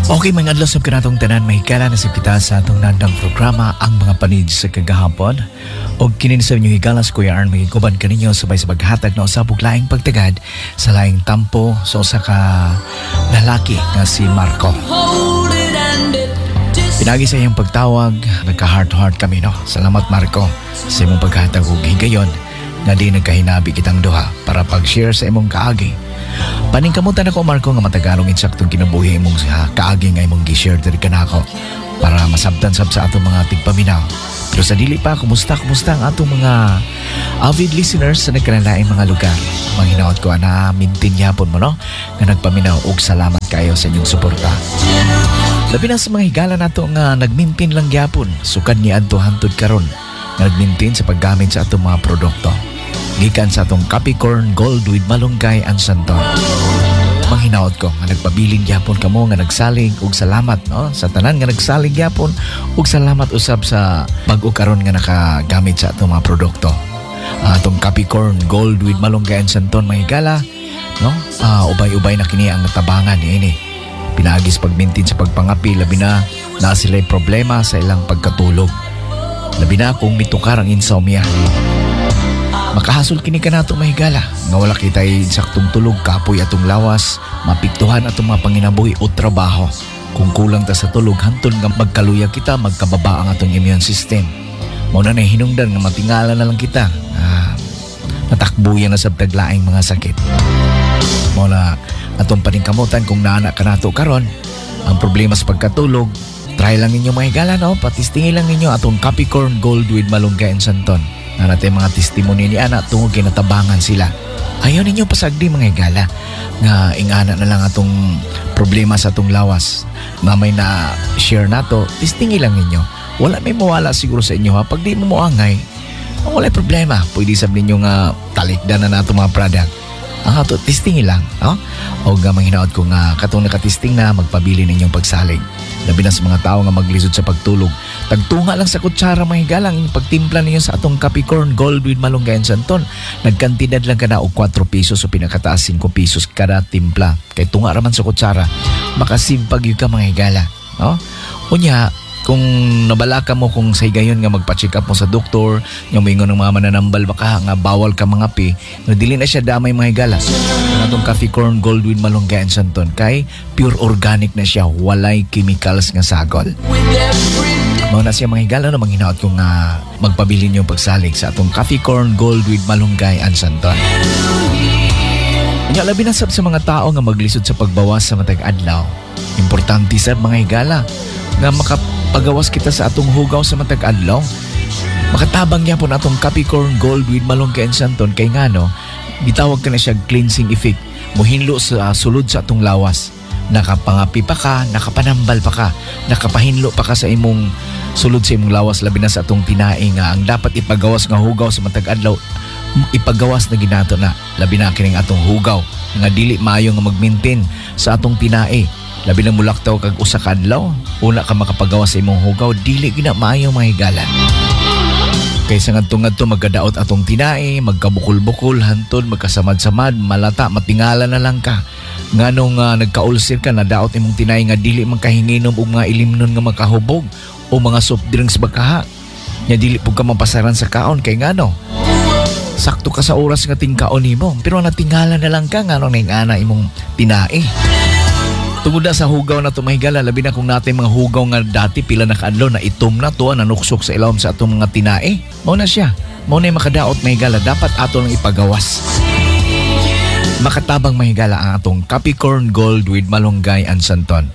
Okay, mga adlaw sa kanatong tanan, mahigala na sa kita sa atong nandang programa, Ang Mga Panid sa Kagahapon. Og kinin sa inyong higala sa Kuya Arn, mahiguban kaninyo sabay sa paghatag na usab og laing pagtagad sa laing tampo sa usa ka lalaki nga si Marco. Pinagi sa iyong pagtawag, nagka-heart to heart kami, no? Salamat, Marco, sa imong paghatag og higayon nga di nagkahinabi kitang duha para pag-share sa imong kaagi. Paningkamutan ako, Marco, nga matagalong insaktong kinabuhi imong sa kaagi nga imong gi-share diri kanako para masabtan sab sa atong mga tigpaminaw. Pero sa dili pa, kumusta, kumusta ang atong mga avid listeners sa nagkanalaing mga lugar? Manghinaot ko na mintin yapon mo, no? Nga nagpaminaw og salamat kayo sa inyong suporta. Labi na sa mga higala nato nga nagmintin lang gyapon sukad ni adto hantod karon nga nagmintin sa paggamit sa atong mga produkto. Gikan sa atong Capricorn Gold with Malunggay and Santon. Manghinaot ko nga nagpabilin gyapon kamo nga nagsalig og salamat, no, sa tanan nga nagsalig gyapon ug salamat usab sa bag-o karon nga nakagamit sa atong mga produkto. Atong Capricorn Gold with Malunggay and Santon, mga higala, no, ubay-ubay na kini ang tabangan niini. Pinaagi sa pagmintin sa pagpangapi, labi na na sila'y problema sa ilang pagkatulog. Labi na kung mitukar ang insomnia. Makahasol kini kanato, mahigala, nga wala kita'y saktong tulog, kapoy atong lawas, mapiktuhan atong mga panginabuhi o trabaho. Kung kulang ta sa tulog, hantol nga magkaluya kita, magkababa ang atong immune system. Mao na hinungdan nga matingala na lang kita. Natakbuyan na sa taglaing mga sakit. Mao na atong paningkamutan kung naana kanato karon ang problema sa pagkatulog, try lang ninyo, mga higala, no? Patistingin lang ninyo atong Capricorn Gold with Malunggay and Santon. Na natin mga testimony ni ana tungod kay natabangan sila. Ayaw ninyo pasagdi, mga higala, nga ingana na lang atong problema sa atong lawas. Na may na share nato, testingin lang ninyo. Wala may mawala siguro sa inyo, ha. Pag di mo moangay, wala problema. Pwede sab ninyo nga talikdan na nato mga product. Ang ato, testingin lang. No? O nga manghinaot ko nga katong nakatesting na magpabili ninyong pagsalig. Labi na sa mga tao nga maglisod sa pagtulog. Tagtunga lang sa kutsara, mga higala, ang pagtimpla ninyo sa atong Capricorn Gold with Malunggay and Santon. Nagkantidad lang ka na og 4 pesos o pinakataas 5 pesos kada timpla. Kay tunga raman sa kutsara. Makasimpag yun ka, mga higala. No? Unya, kung nabalaka mo kung sa higayon nga magpa-check up mo sa doktor, nga moingon ng mga mananambal baka nga bawal ka mga pi, no, dili na siya damay, mga higala. Ang atong Capricorn Gold with Malunggay and Santon kay pure organic na siya, walay chemicals nga sagol. Mao na siya, mga higala, no, manghinaot ko nga magpabilin yung pagsalig sa atong Capricorn Gold with Malunggay and Santon. Nya labi na sab sa mga tao nga maglisod sa pagbawas sa matag adlaw. Importante sa mga higala nga makapagawas kita sa atong hugaw sa matag adlaw. Makatabang gyapon atong Capricorn Gold with Malunggay and Santon kay ngano, gitawag ka na siya cleansing effect. Muhinlo sa sulod sa atong lawas. Nakapangapi pa ka, nakapanambal pa ka, nakapahinlo pa ka sa imong sulod sa imong lawas, labi na sa atong tinai nga ang dapat ipagawas nga hugaw sa matag adlaw, ipagawas na ginato na, labi na kining atong hugaw nga dili maayo nga mag-maintain sa atong tinai, labi na mulaktaw kag usa ka adlaw una ka makapagawas sa imong hugaw, dili gina maayo, mga higala, kaysa ngadto-ngadto magkadaot atong tinai, magkabukol-bukol, hantod magkasamad-samad, malata, matingala na lang ka. Nganong nagka-ulcer ka, nadaot imong tinai nga dili man kahinginom og mga ilimnon nga makahubog o mga soft drinks bakaha. Nya dili pud ka mapasaran sa kaon kay ngano, sakto ka sa oras nga tingkaon nimo, pero natingala na lang ka nganong naingana imong tinai. Tungod na sa hugaw na tumahigala, labi na kung natin mga hugaw nga dati pila na kaadlaw na itom na to, nanuksok sa ilawom sa atong mga tinae. Mao na siya. Mao na yung makadaot, mahigala. Dapat ato lang ipagawas. Makatabang, mahigala, ang atong Capricorn Gold with Malunggay and Santon.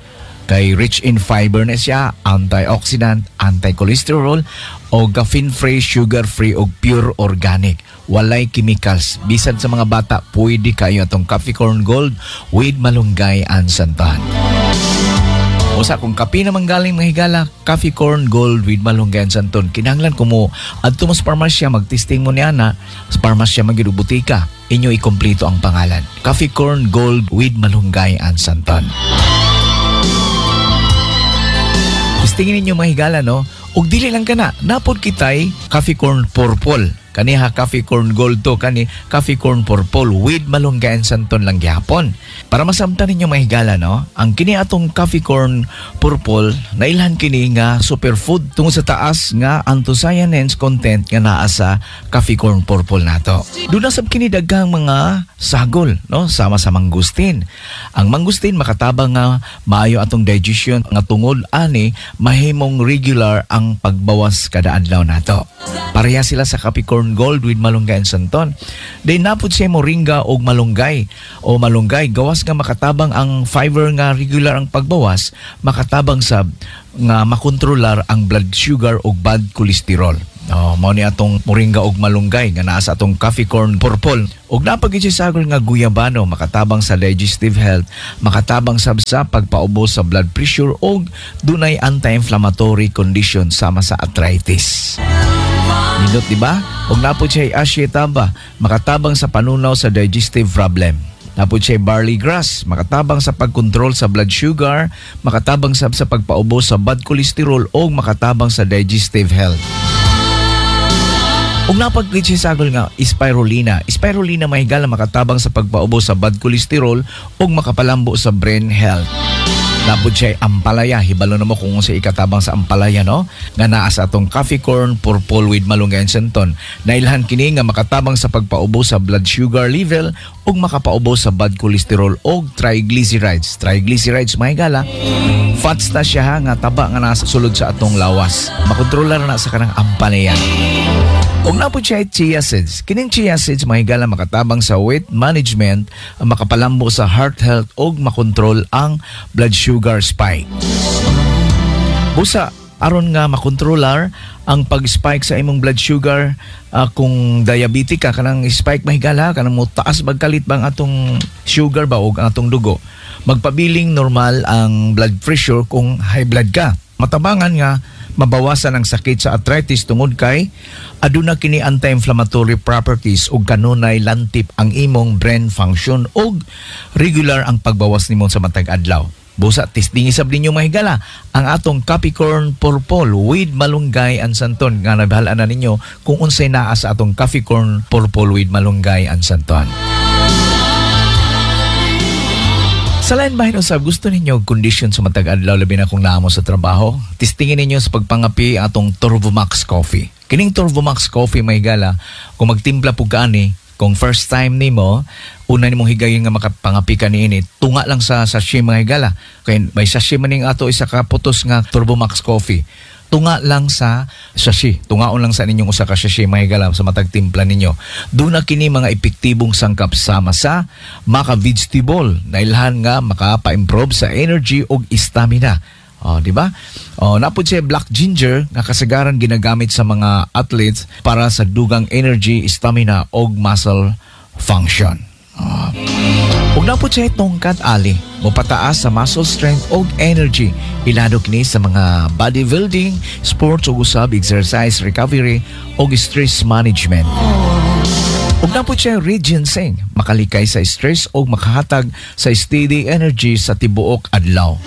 Kay rich in fiber na siya, antioxidant, anti-cholesterol, o caffeine-free, sugar-free, o pure organic. Walay chemicals. Bisan sa mga bata, pwede kayo atong Capricorn Gold with Malunggay and Santon. Usa kung kape naman galing, mga higala, Capricorn Gold with Malunggay and Santon. Kinahanglan ko mo adto mo sa parmasya, magtesting mo niya na sa parmasya magyud og butika. Inyo ikompleto ang pangalan. Capricorn Gold with Malunggay and Santon. Testingin ninyo, mga higala, no? Ug dili lang kana, napod kitay Capricorn Purple. Kaniha Coffee Corn Gold to, kani Coffee Corn Purple with malunggay and santon lang gihapon. Para masamtan ninyo, mga higala, no? Ang kini atong Coffee Corn Purple, nailhan kini nga superfood tungod sa taas nga anthocyanins content nga naa sa Coffee Corn Purple nato. Duna sab kini daghang mga sagol, no? Sama sa mangosteen. Ang mangosteen makatabang nga maayo atong digestion nga tungod ani mahimong regular ang pagbawas kada adlaw nato. Pareha sila sa Coffee Corn Gold with malunggay and santon. Then napud siya moringa og malunggay o malunggay, gawas nga makatabang ang fiber nga regular ang pagbawas, makatabang sab nga makontrolar ang blood sugar ug bad cholesterol. Oh, mao ni atong moringa ug malunggay nga naa sa atong Coffee Corn Purple. Ug napagid siya sagol nga guyabano, makatabang sa digestive health, makatabang sab sa pagpaubos sa blood pressure ug dunay anti-inflammatory condition sama sa arthritis. Nindot, di ba? Ug napod siya ashitaba, makatabang sa panunaw sa digestive problem. Napod siya barley grass, makatabang sa pagkontrol sa blood sugar, makatabang sab sa pagpaubos sa bad cholesterol o makatabang sa digestive health. Ug napaglit siya sagol nga spirulina. Spirulina, mga higala, makatabang sa pagpaubos sa bad cholesterol ug makapalambo sa brain health. Napod siya ampalaya. Hibalo na mo kung sa ikatabang sa ampalaya, no? Nga naa sa atong Coffee Corn Purple with malunggay and santon. Nailhan kini nga makatabang sa pagpaubos sa blood sugar level ug makapaubos sa bad cholesterol og triglycerides. Triglycerides, mga higala, fats na siya ha, nga taba nga nasa sulod sa atong lawas. Makontrolar na sa kanang ampalaya. Ug napod siya chia seeds. Kining chia seeds, mga higala, makatabang sa weight management, makapalambo sa heart health ug makontrol ang blood sugar spike. Busa aron nga makontrolar ang pag-spike sa imong blood sugar, kung diabetic ka, kanang spike, mga higala, kanang mo taas magkalit bang atong sugar ba og ang atong dugo. Magpabiling normal ang blood pressure kung high blood ka. Matabangan nga mabawasan ang sakit sa arthritis tungod kay aduna kini anti-inflammatory properties ug kanunay lantip ang imong brain function ug regular ang pagbawas nimo sa matag adlaw. Busa testing isab ninyo, mga higala, ang atong Coffee Corn Purple with malunggay and santon nga nabahala na ninyo kung unsay naa sa atong Coffee Corn Purple with malunggay and santon. Sa lain bahin usab, gusto ninyo kondisyon sa matag adlaw, labi na kung naa mo sa trabaho, testingin ninyo sa pagpangapi atong Turbomax Coffee. Kining Turbomax Coffee, mga higala, kung magtimpla pug ka ani, kung first time nimo, una nimong higayon nga makapangapi ka niini, tunga lang sa sachet, mga higala. Kay may sachet man ning ato isa ka putos nga Turbomax Coffee. Tunga lang sa sachet. Tungaon lang sa ninyong usa ka sachet, mga higala, sa matag timpla ninyo. Duna kini mga epektibong sangkap sama sa maka vegetable na ilhan nga makapa-improve sa energy ug stamina. Oh, di ba? Oh, napod siya black ginger nga kasagaran ginagamit sa mga athletes para sa dugang energy, stamina ug muscle function. Oh. Ug napod siya tongkat ali, mopataas sa muscle strength ug energy. Ilado kini sa mga bodybuilding, sports ug usab exercise recovery ug stress management. Ug napod siya red ginseng, makalikay sa stress ug makahatag sa steady energy sa tibuok adlaw.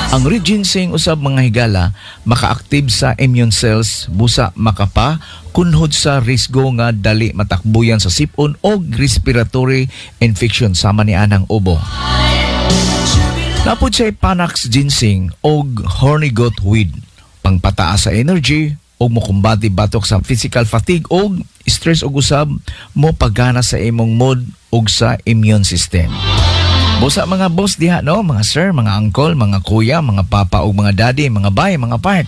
Ang red ginseng usab, mga higala, maka-active sa immune cells, busa makapa kunhod sa risgo nga dali matakbuyan sa sipon o respiratory infection sama ni anang ubo. Napod siya Panax ginseng og horny goat weed, pangpataas sa energy og mokumbati batok sa physical fatigue og stress ug usab mo pagana sa imong mood ug sa immune system. Busa mga boss diha, no, mga sir, mga uncle, mga kuya, mga papa ug mga daddy, mga bay, mga part.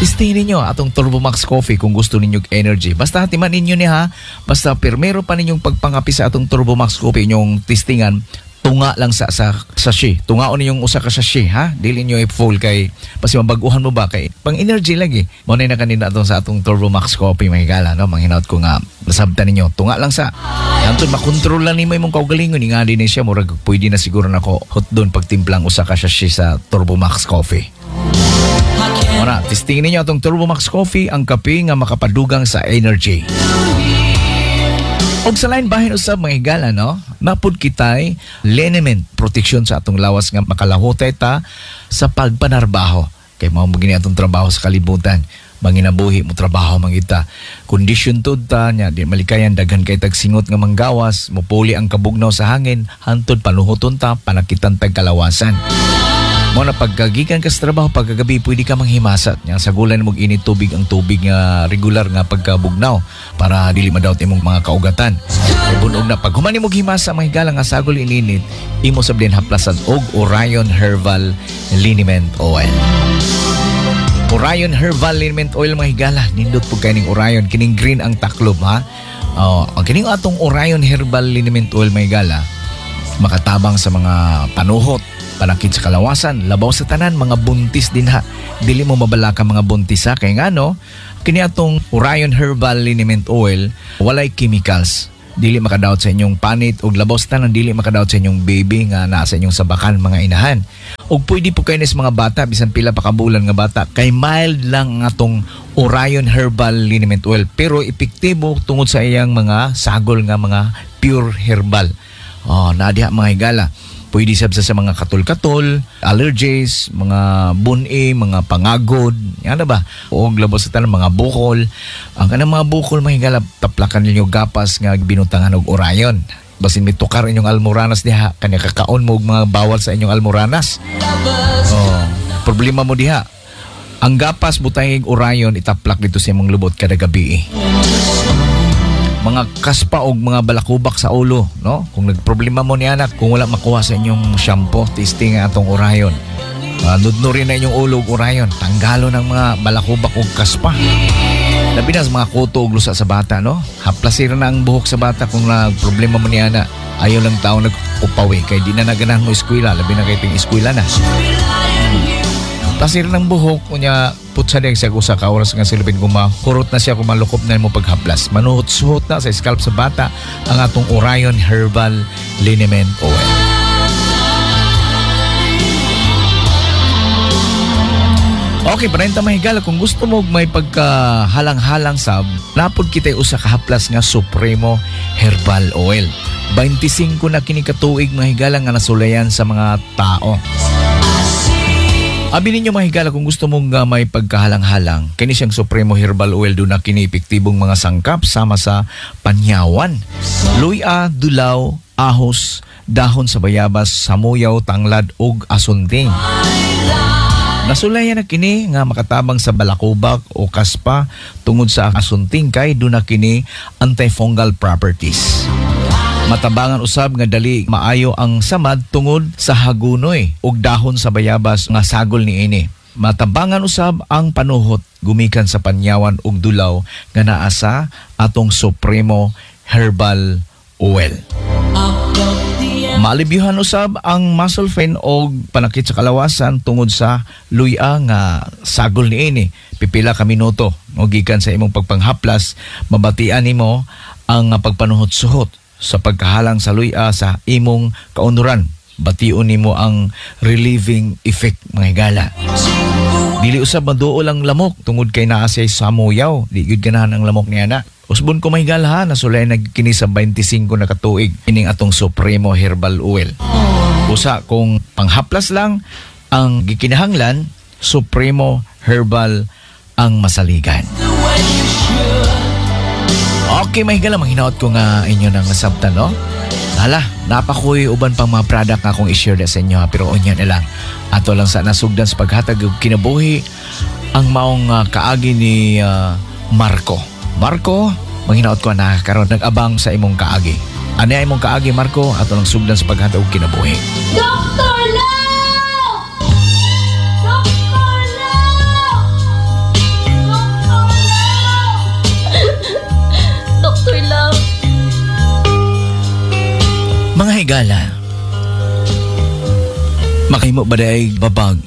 Testing ninyo atong Turbomax Coffee kung gusto ninyo og energy. Basta hatiman ninyo ni ha, basta pirmero pa ninyong pagpangapi sa atong Turbomax Coffee, inyong testingan, tunga lang sa sachet. Tungaon ninyong usa ka sachet ha. Dili niyo i-full kay pasi mabaguhan mo ba, kay pang energy lagi. Mo na kanina atong sa atong Turbomax Coffee, mga higala, no. Manghinaot ko nga nasabtan ninyo. Tunga lang sa Anton makontrol lang nimo imong kaugalingon nga din siya, murag pwede na siguro nako hotdon pagtimplang usa ka sachet sa Turbomax Coffee. Ora, testingin ninyo atong Turbomax Coffee, ang kape nga makapadugang sa energy. Og sa lain bahin usab, mga higala, no, napud kitay liniment protection sa atong lawas nga makalahutay ta sa pagpanarbaho. Kay mao mo gini atong trabaho sa kalibutan. Manginabuhi mo trabaho man kita. Kondisyon tud ta nya di malikayan, daghan kay tag singot nga manggawas, mupuli ang kabugnaw sa hangin, hantod panuhuton ta, panakitan tag kalawasan. Mo na pagkagikan ka sa trabaho, pagkagabi pwede ka manghimasat. Nya sagulan mo init tubig, ang tubig nga regular nga pagkabugnaw para dili madawat imong mga kaugatan. Kay bunog na pag human nimo himasa, mga higala, nga sagol ininit, imo sab din haplasan og Orion Herbal Liniment Oil. Orion Herbal Liniment Oil, mga higala, nindot po kay ning Orion, kining green ang taklob ha. Oh, ang kining atong Orion Herbal Liniment Oil, mga higala, makatabang sa mga panuhot, panakit sa kalawasan, labaw sa tanan mga buntis din ha. Dili mo mabalaka mga buntis ha, kay ngano kini atong Orion Herbal Liniment Oil walay chemicals. Dili makadawat sa inyong panit ug labaw sa tanan dili makadawat sa inyong baby nga naa sa inyong sabakan, mga inahan. Ug pwede po kayo sa mga bata bisan pila pa ka bulan nga bata kay mild lang ang atong Orion Herbal Liniment Oil pero epektibo tungod sa iyang mga sagol nga mga pure herbal. Oh, naa diha, mga higala. Pwede sab sa mga katol-katol, allergies, mga buni, mga pangagod, ano ba? O labaw sa tanan mga bukol. Ang kanang mga bukol, mga higala, taplakan ninyo gapas nga binutangan og Orion. Basin mitukar inyong almoranas diha, kanya kakaon mo og mga bawal sa inyong almoranas. Oh, problema mo diha. Ang gapas butangig Orion, itaplak dito sa imong lubot kada gabi. Mga kaspa og mga balakubak sa ulo, no? Kung nagproblema mo ni anak, kung wala makuha sa inyong shampoo, testing ang atong Orion. Nudnurin na inyong ulo og Orion, tanggalo ng mga balakubak og kaspa. Labi na sa mga kuto og lusa sa bata, no? Haplasir na ang buhok sa bata kung nagproblema mo ni ana. Ayaw lang tao nag-upawi kay di na naganahan mo eskwela, labi na kay ting eskwela na. Plasir ng buhok unya putsa diya sa usa ka oras nga silupin kung mahurot na siya, kung malukop na mo paghaplas, manuhot-suhot na sa scalp sa bata ang atong Orion Herbal Liniment Oil. Okay, parenta, mga higala, kung gusto mo may pagkahalang-halang sab, napod kita usa ka haplas nga Supremo Herbal Oil. 25 na kini katuig, mga higala, nga nasulayan sa mga tao. Abi ninyo, mga higala, kung gusto mong may pagkahalang-halang, kini siyang Supremo Herbal Oil, doon na kini epektibong mga sangkap sama sa panyawan, luya, dulaw, ahos, dahon sa bayabas, samuyaw, tanglad ug asunting. Nasulayan na kini nga makatabang sa balakubak o kaspa tungod sa asunting kay doon na kini antifungal properties. Matabangan usab nga dali maayo ang samad tungod sa hagunoy ug dahon sa bayabas nga sagol niini. Matabangan usab ang panuhot gumikan sa panyawan ug dulaw nga naa sa atong Supremo Herbal Oil. Maalibyuhan usab ang muscle pain o panakit sa kalawasan tungod sa luya nga sagol niini. Pipila ka minuto o gikan sa imong pagpanghaplas, mabatian nimo ang pagpanuhot-suhot sa pagkahalang sa luya sa imong kaunuran. Bation nimo ang relieving effect, mga higala. Dili usab maduol ang lamok tungod kay naa siya samuyaw. Di gyud ganahan ang lamok niya na. Usbon ko, mga higala ha, nasulay nag kini sa 25 na katuig ining atong Supremo Herbal Oil. Usa kung panghaplas lang ang gikinahanglan, Supremo Herbal ang masaligan. Okay, mga higala, manghinaot ko nga inyo nang nasabtan, no? Hala, napakoy uban pang mga product nga akong i-share na sa inyo ha, pero unya na lang. Ato lang sa nasugdan sa paghatag og kinabuhi ang maong kaagi ni Marco. Marco, manghinaot ko na karon nag-abang sa imong kaagi. Ano ay imong kaagi, Marco? Ato lang sugdan sa paghatag og kinabuhi. Dr. Love! Dr. Love! Dr. Love! Dr. Love! Mga higala, makahimo ba ay babag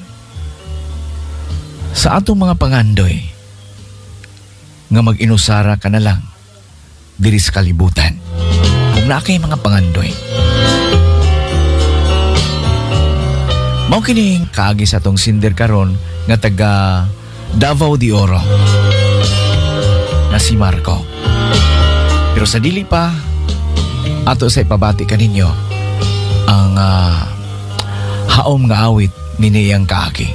sa atong mga pangandoy nga mag-inusara ka na lang diri sa kalibutan? Kung naa kay mga pangandoy, mao kining kaagi sa atong sinder karon nga taga Davao de Oro na si Marco. Pero sa dili pa, ato sa ipabati kaninyo ang haom nga awit ni niyang kaagi.